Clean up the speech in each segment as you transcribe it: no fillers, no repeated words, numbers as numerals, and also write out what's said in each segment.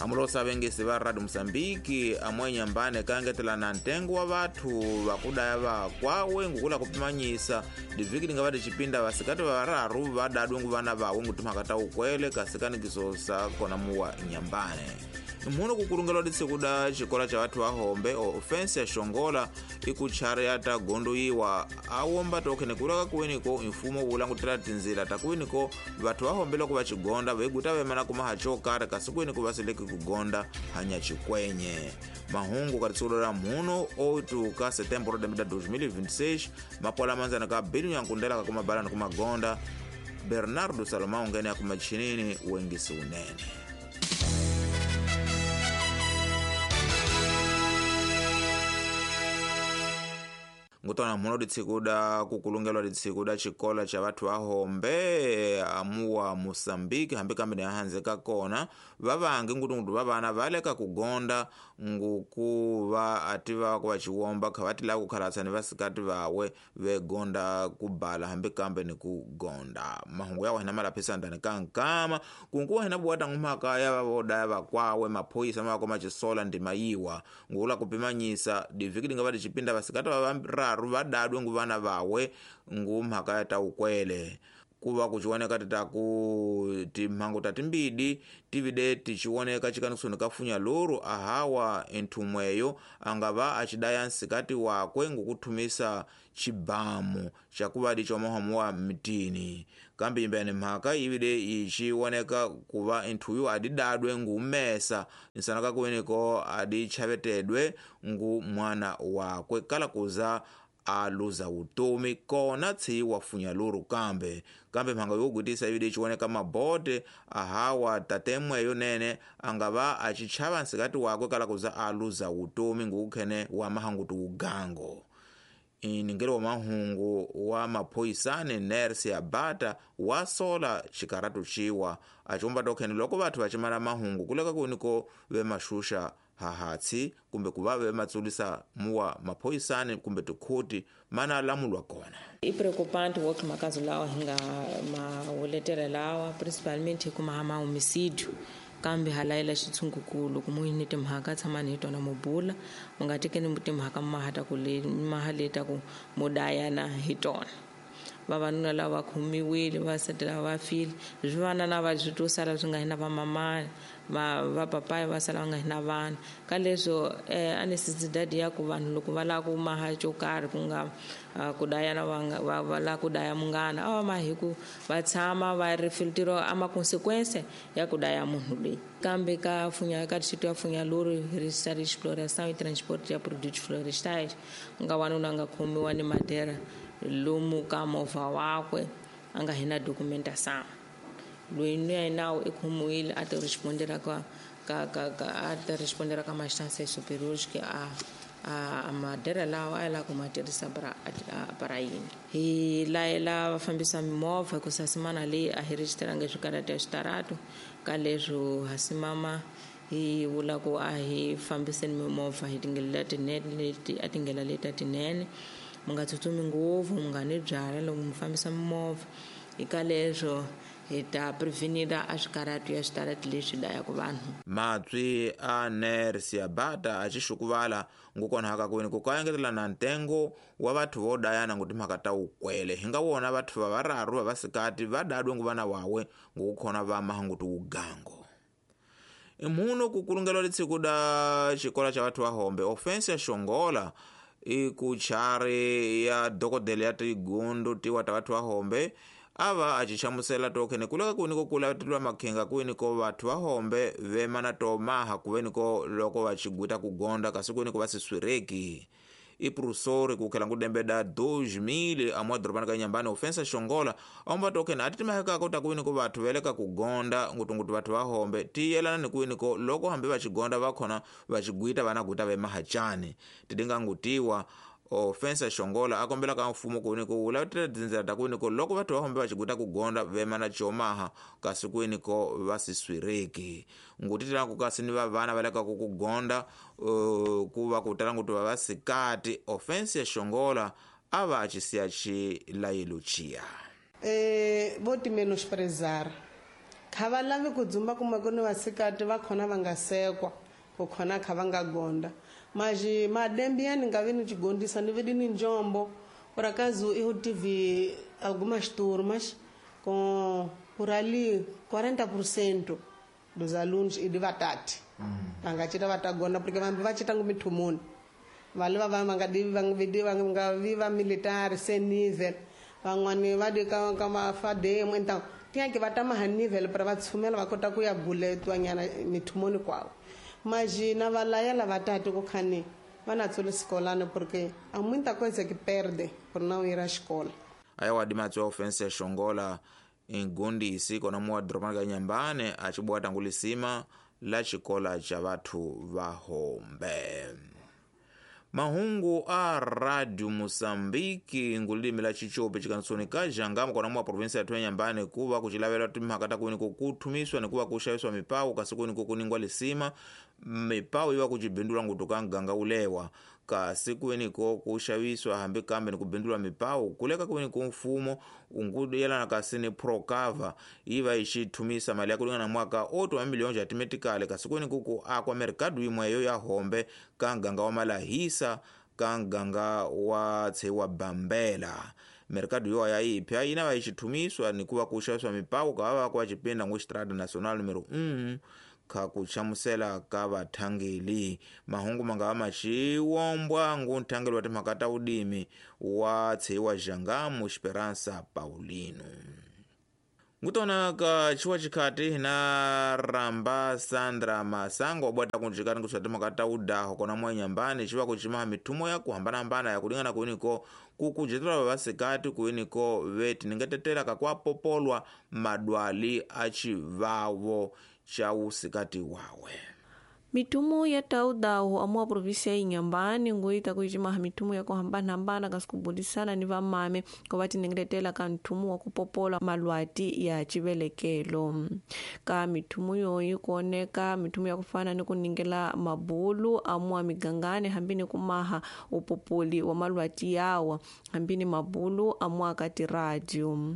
Amulosa vengisi va Radio Mozambique amwe Nyambane kaengetela na ntengo wa vathu vakudaya vakwawe ngukula kupimanyisa divhiki linga vati chipinda vasikati vararu vadadwe nguvana vawe ngutimhaka ta ukwele kasikanikiso sa kona muwa Nyambane. Mhuno kukulungelwa ditsikuda xikola cha vathu vahombe ofensi ya Xongola ikuchari ya ta gondoyiwa awomba tokhene kulaka kuweniko mfumo wu langutela tinzila ta kuweniko vathu vahombe loko va xigonda veguta vemana kuma ha xo karhi kasi kuweniko va seleki kugonda hanya xikwenye. Mahungu ka ritsikulo ra mhuno 8 ka setembro 2026 mapola manzana ka bili nyankundela ka kumabalani kumagonda Bernardo Salomão ngene ya kumachinini wengisi unene. Ngutona mhuno ditsikuda kukulungelwa ditsikuda xikola cha vathu vahombe amuwa Mozambique hambi kambe ni ka kona vavangi ngutungutu va vana va le ka kugonda ngukuva ativa ku va xiwomba kha va ti lava ku khalatsa ni vasikati vawe vegonda ku bala hambi kambe ni ku gonda. Mahungu ya wena malaphisa ndani ka nkama kunkuwa hina buwata ngumhaka ya vavodaya vakwawe maphoyisa ma va xisola ndima yiwa ngula kupimanyisa divhiki linga va tixipinda vasikati va vararu vadadwe nguvana vawe ngumhaka ya ta ukwele kuva kuchioneka titaku timhangu ta timbidi tivide tichioneka chikanisoni kafunya luru ahawa enthumweyo angava achidaya nsikati wakwe ngukuthumisa chibamu chakuvadi chomahamu wa mtini kambi imbeni mhaka ivide ichioneka kuva enthuyu adidadwe ngumesa nsana kakuweniko adichavetedwe ngu mwana wakwe kala kuza aluza utomi kona tsi wafunya luru kambe kambe mhanga yogutisa ivide ichioneka mabote ahawa tatemweyo nene angava achichava nsikati wakwe kala kuza aluza utomi ngukukhene wa mahangutu ugango. Iningelo wa mahungu wa maphoyisane nersi ya bata wasola xikaratu xiwa achiwomba tokhene loko vathu vachimala mahungu kuleka kuniko vemashusha hahatsi kumbe kuva vematsulisa muwa maphoyisane kumbe tikhuti mana lamulwa kona. I preocupante o que makazo lawa hinga mauletela lawa principalmente kuma hama homicídio kambe halayela xitshungukulu ku muhini timhaka tshamani hi tona mubula mu nga tekeni timhaka mahata ku le mahaleta ku mudayana hi tona. Vavanuna lava khomiwile vasati lava va file swi vana na va swi to sala swi nga hi na vamamani va papaya va sala va nga hi na vana ka leswo a necessidade ya ku vanhu loko va lava ku maha xo karhi ku nga ku dayana va lava ku daya munghana a va mahi hi ku va tshama va ri filtiro a ma consequence ya ku daya munhu loyi. Kambe ka funya ka distrito ya Funhalouro registra exploração e transporte ya produtos florestais ku nga wanuna a nga khomiwa ni madera lomu ka movha wakwe a nga hi na documentação loyi ni ya nawu i khomiwile a ti respondera ka ka ka ka a ti respondera ka ma-instâncias superiores que a madera lawa a ya lava ku ma tirhisa para yini. Hi layela vafambisa mimovha ku sasimana leyi a hi registeranga swikarata ya switaratu ka leswo ha simama hi vula ku a hi fambiseni mimovha hi tindlela letinene leti a tindlela leti tinene mu nga tsutsumi ngopfu mu nga ni byala loko mu fambisa mimovha hi ka leswo hi ta prevenira a swikaratu ya switarati leswi dayaka vanhu. Matswi a nersi ya bata a xixukuvala ngukona haka kwini ku kaengetela na ntengo wa vathu vo dayana ngutimhaka ta ukwele hi nga wona vathu va vararu va vasikati va dadwe nguvana wawe ngukukhona va mahangutu ugango. Mhuno kukulungelwa litsikuda xikola cha vathu vahombe ofensi ya Xongola ikuchari ya dokodela ya tigundu tiwa ta vathu vahombe ava achichamusela tokhene kuleka kuweniko kulatilwa makhenga kuweniko vathu vahombe vemana tomaha kuweniko loko vachiguta kugonda kasi kuweniko vasiswireki. Iprusori kukhela ngudembeda 2000 amwa dorobani ka Nyambane ofensa Xongola aomba tokhene ati timahekako ta kuweniko vathu veleka kugonda ngutungutu vathu vahombe tiyelana ni kuweniko loko hambi vachigonda vakhona vachigwita vanaguta vemahachani tidinga ngutiwa ofensa Xongola akombela ka mfumo kuweniko wulavutela tindzela ta kuweniko loko vathu vahombe vachiguta kugonda vemana chomaha kasi kuweniko vasiswireki ngutitela kasi ni vavana va leka ku kugonda ku va ku tala ngutu va vasikati ofensa Xongola a va achisiya xilayelo chiya. Vou te menosprezar. Kha va lavi ku dzumba kuma ku ni vasikati va khona va nga sekwa ku khona kha va nga gonda mas madembi ya ni nga vi ni chigondisa ni vi ni njombo. Por acaso eu tive algumas turmas com por ali 40% dos alunos e de vatati. Vangachita vatagona porque vambi vachita ngumithumuni. Vale va nga nga viva militar sem nível. Van'wani va di ka mafademo então tinha que va tama ha nível para va tshumela va kota ku ya buletwa nyana mithumuni kwawo. Mas na va layela vatati ku khani va na tsole sekolano porque há muita coisa que perde por não ir à escola. Ayawa dimatso ya ofense ya Shongola ingondisi kona muwa dorobani ka Inhambane acibwata ngulisima la xikola xa vathu va hombe. Mahungu a Radio Moçambique ngulilimi la Xichopi xikanisoni ka Jangama kona muwa provinsia ya Inhambane kuva kucilavelwa timhaka ta kwini kuthumiswa ni kuva kuxaviswa mipawu kasi kwini kuningwa lisima mipawu yiva kucibindulwa ngutu ka nganga ulewa kasi kwiniko kuxaviswa hambi kambe ni kubindulwa mipawu kuleka kwini mfumo unguyelana kasi ni Procava yiva yi xithumisa mali ya kulingana mwaka 8 wa miliyoni ya timetikale kasi kwini ku akwa mercado yimweyo ya hombe ka nganga wa Malahisa ka nganga wa Tshewa Bambela. Mercado yo ya ipya yina va yi xithumiswa ni kuva kuxaviswa mipawu ka va va cipinda ngu Estrada Nacional número 1 kha kuchamusela ka vathangeli. Mahungu manga maxiwombwa ngu nthangeli wa timhaka ta udimi wa Tshewa Jangamu Esperança Paulino. Ngutona ka chiwa chikhati hina ramba Sandra Masango wabwata kunjikani kuswa timhaka ta udaho kona mwa Inhambane chiva kuchimaha mithumo ya kuhambanahambana ya kulingana kuiniko kukujetela vavasikati kuiniko veti ningetetela kakwapopolwa madwali achivavo cha usikati wawe. Mitumo ya taudaho amua província ya Inhambane ngoita kuichimaha mitumo ya kuhambana-hambana kasi kubulisana ni vamame ko va tinengeletela ka nthumo wa kupopola malwati ya chivelekelo. Ka mithumo yoyi kuoneka mithumo ya kufana ni kuningela mabulu amua migangani hambi ni kumaha upopoli wa malwati yawa hambi ni mabulu amua ka tiradio.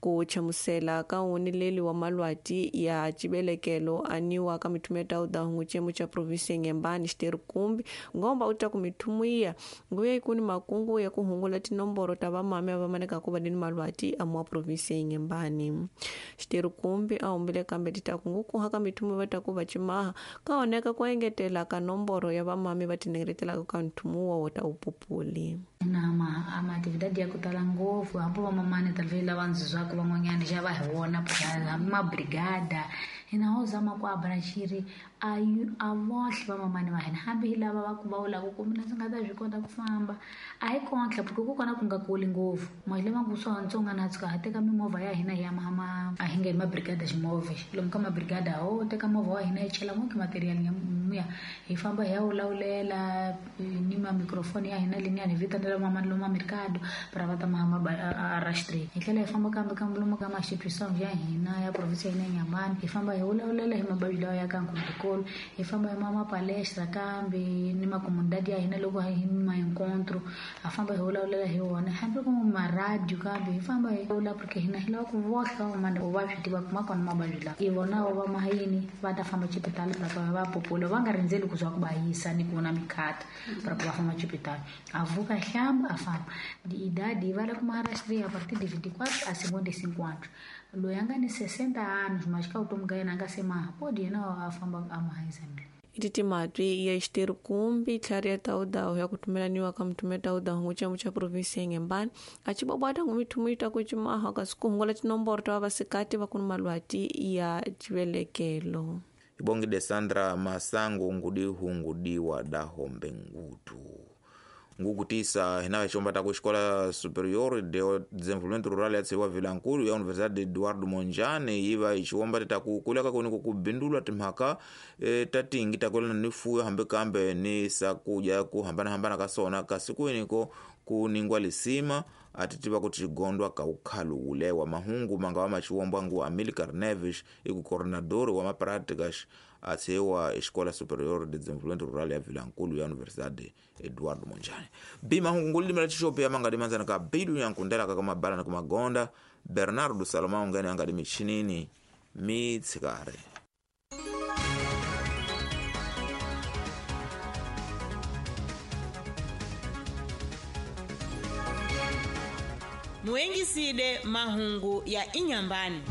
Ku chamusela ka unileli wa malwati ya chivelekelo aniwa ka mithumo ya taudaho nguchemu cha província ya Inhambane xiteru kumbi ngomba uta kumithumuya nguya ikuni makungu ya kuhungula tinomboro ta vamame va maneka ku va ni malwati amwa província ya Inhambane. Xiteru kumbi a humbile kambe titaku ngukuha ka mithumu va ta ku va cimaha ka oneka ku engetela ka nomboro ya vamame va tinengeretelaka ka nthumu wa ta upupuli. Na ma atividade ya ku tala ngopfu hambi vamamani talvez lava ndzizwaka van'wanyana xa va hi vona ma brigada hina ho zama ku abrashiri a vohle vamamani va hina hambi hi lava va ku va vulaka ku mina ndzi nga ta swi kota ku famba a hi kontlha porque ku kona ku nga kuli ngopfu mali lama ku swa ntsonga na tshuka ha teka mimovha ya hina ya mama a hi nge hi mabrigada ximovha lomu ka mabrigada ho teka movha wa hina hi chela ngopfu material ya hi famba hi ya wulawulela ni ma microphone ya hina leniya hi vitanela mamani lomu mercado para va ta mahama a rastri hi tlhela hi famba kambe kambe lomu ka ma-institution ya hina ya province ya hina ya Inhambane hi famba hi wulawulela hi mabavyi lawa ya ka nkhundikolo hi famba hi mama palestra kambe ni makomunidadi ya hina loko hi ma encontro ha famba hi wulawulela hi wona hambi ku maradio kambe hi famba hi wula porque hina hi lava ku vohla vamamani vuvabyi tiva kuma kona mavabyi lawa i vona va mahayini va ta famba xipitali para va popola va nga rindzeli ku za ku va yisa ni ku na mikhata para ku va famba xipitali a vuka hlamba a famba idade va la ku maharashtra a partir de 24 a 55 anos loyi a nga ni 60 anos mas ka vutomi ka yena a nga se maha pode yena a famba a maha exame. Ititimati ya xiteru kumbi tlhari ya taudaho ya kutumelaniwa ka muthumu ya taudaho nguchemu cha província ya Inhambane acibwabwata ngumithumu yi ta ku cimaha kasi kuhungula tinomboro ta vavasikati va ku ni malwati ya chivelekelo. Ibongide Sandra Masango ngudi hungudiwa dahombe ngutu ngukutisa hina vachomba ta kuxikola superior de desenvolvimento rural ya tsiwa Vilankulu ya Universidade Eduardo Mondlane yiva ichiwomba tita kukuleka kuni kukubindulwa timhaka ta tingi takulana ni fuyo hambi kambe ni sakuja ku hambanahambana ka sona kasi kwiniko kuningwa lisima atitiva kuti chigondwa ka ukhalu ulewa. Mahungu manga wa machiwombwa ngu Amilcar Neves iku coordenador wa mapráticas atsiwa Escola Superior de Desenvolvimento Rural ya Vilankulu ya Universidade Eduardo Mondlane. Bi mahungu ngulimela chishopi ya manga dimanzana ka bidu ya nkundela kaka mabala na kumagonda Bernardo Salomão ngani anga dimichinini Mitshikari. Muengisile mahungu ya Inyambani.